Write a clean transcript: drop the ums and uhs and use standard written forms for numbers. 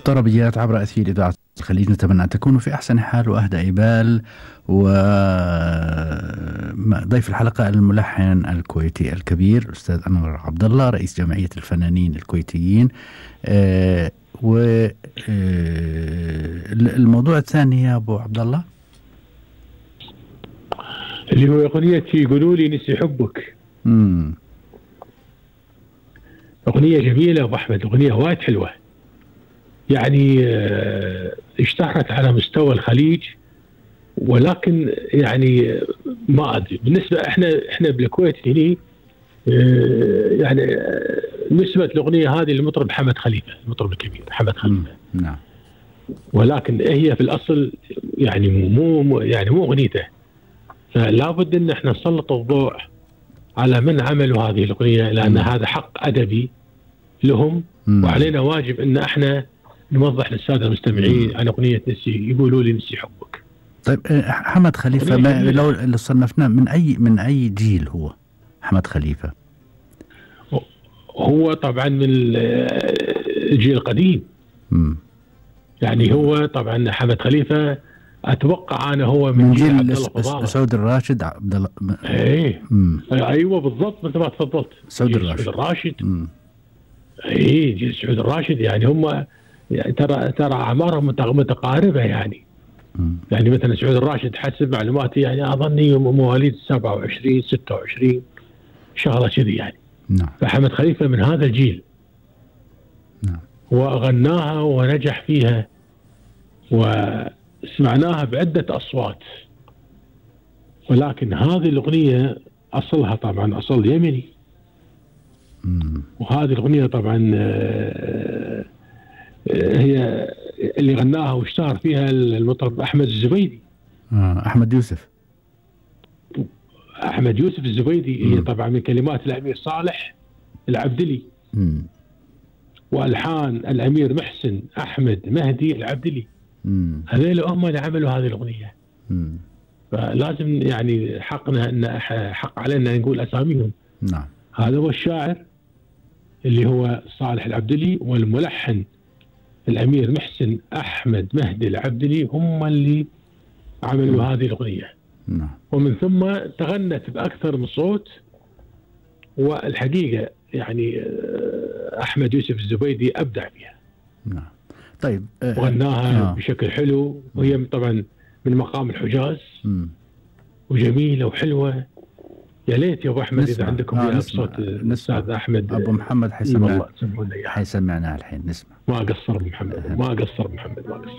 طربيات عبر أثير إذاعة الخليج، نتمنى أن تكونوا في أحسن حال وأهدى بال. وضيف الحلقة الملحن الكويتي الكبير أستاذ أنور عبد الله، رئيس جمعية الفنانين الكويتيين. والموضوع الثاني يا أبو عبد الله اللي هو أغنية يقولوا لي نسي حبك. أغنية جميلة أبو أحمد، أغنية وايد حلوة، يعني اشتهرت على مستوى الخليج، ولكن يعني ما أدري بالنسبة احنا بالكويت هنا يعني نسبة الأغنية هذه للمطرب حمد خليفة، المطرب الكبير حمد خليفة. نعم. ولكن هي في الأصل يعني مو أغنيته، فلا بد ان احنا نسلط الضوء على من عملوا هذه الأغنية، لأن هذا حق أدبي لهم، وعلينا واجب ان احنا نوضح للسادة المستمعين عن أغنية يقولوا لي نسي حبك. طيب حمد خليفة لو صنفناه من أي جيل هو حمد خليفة؟ هو طبعا من الجيل القديم. يعني هو طبعا حمد خليفة أتوقع أنا هو من جيل عبد الله فضالة، سعود الراشد، عبد الله. أيوة بالضبط مثل ما تفضلت، سعود الراشد. جيل سعود الراشد، يعني هم يعني ترى أعمارهم متقاربة يعني. يعني مثلا سعود الراشد حسب معلوماتي يعني أظني مواليد 27 26 شغلة كذي يعني. نعم. فحمد خليفة من هذا الجيل. نعم. وغناها ونجح فيها وسمعناها بعدة أصوات، ولكن هذه الأغنية أصلها طبعا أصل يمني. وهذه الأغنية طبعا هي اللي غناها واشتهر فيها المطرب أحمد الزبيدي. أحمد يوسف الزبيدي. هي طبعا من كلمات الأمير صالح العبدلي، وألحان الأمير محسن أحمد مهدي العبدلي. هذول هم اللي عملوا هذه الأغنية. فلازم يعني حق علينا نقول أساميهم. نعم. هذا هو الشاعر اللي هو صالح العبدلي، والملحن الأمير محسن أحمد مهدي العبدلي، هم اللي عملوا هذه الأغنية. نعم. ومن ثم تغنت بأكثر من صوت، والحقيقة يعني أحمد يوسف الزبيدي أبدع فيها. نعم. طيب وغناها بشكل حلو، وهي طبعا من مقام الحجاز، وجميلة وحلوة. يا ليت يا أبو أحمد إذا عندكم صوت الأستاذ أحمد أبو محمد حيسمعنا الحين. نسمع. ما قصر محمد، ما قصر.